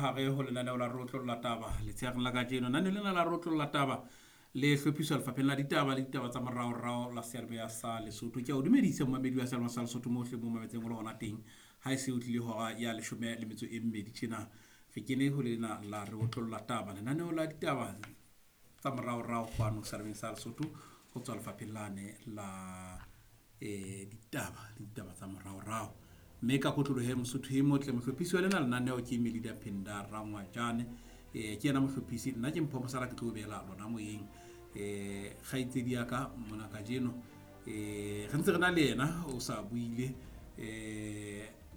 hare ho lenaneo la Rotlolla Taba letsheareng la kajeno. Lenaneo lena la Rotlolla Taba le hlophiswa lefapheng la ditaba le ditaba tsa moraorao la seyalemoya sa Lesotho. Ke a o dumedisa momamedi wa seyalemoya sa Lesotho mohle mo mametseng o le hona teng. Ha e se o tlile hora ya 12 tjena, re kene ho lena la re otlolla taba, lenaneo la ditaba tsa moraorao kwano seyalemoyeng sa Lesotho ho tswa lefapheng lane la ditaba le ditaba tsa moraorao. Mme ka kotlolohe Mosotho e motle, mohlophisi wa lena lenaneo ke Melida Phinda Rangwajane. Ke yena mohlophisi, nna ke Mpho Mosala, ke tlo beela lona moyeng. Kgaitsedi ya ka mona kajeno, re ntse re na le yena, o sa buile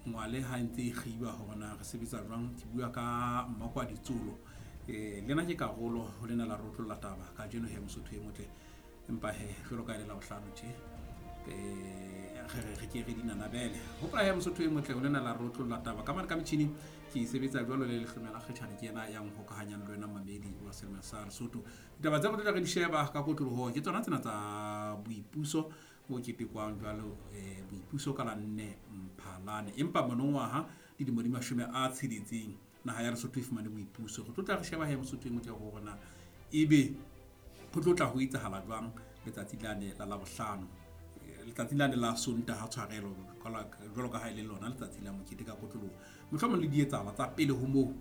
ngwale ha ntse e kgiba hore na re sebetsa jwang. Ke bua ka Mmakwa Ditsolo. Lena ke karolo ho lena la Rotlolla Taba kajeno he Mosotho e motle. Empa he jwalo ka e le Labohlano tje, re ke re dinanabele. Hopola he Mosotho e motle, ho lena la Rotlolla Taba ka mane ka metjhini ke sebetsa jwalo le Lehlomela Kgetjhane, ke yena ya nhokahanyang le wena mamedi wa Selemo sa Lesotho. Ditaba tse re tlo re di sheba ka kotloloho ke tsona tsena tsa boipuso bo ketekwang jwalo, boipuso ka la 4 Mphalane. Empa monongwaha dilemo di 60 naha ya Lesotho e fumane boipuso. Re tlo tla re sheba he Mosotho e motle hore na ebe ho tlo tla ho etsahala jwang letsatsi lane la Labohlano, letsatsi lane la Sontaha tshwarelo, jwalo ka ha e le lona letsatsi la mokete ka kotloloho. Mohlomong le dietsahala tsa pele ho moo,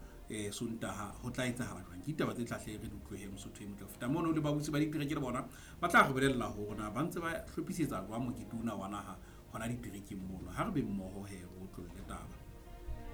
Sontaha ho tla etsahala jwang. Ke ditaba tse tlahle re di utlwe Mosotho e motle. Ho feta mono le babusi ba ditereke le bona ba tla re bolella hore na ba ntse ba hlophisetsa jwang mokete ona wa naha hona diterekeng mono. Ha re be mmoho he re otlolle taba.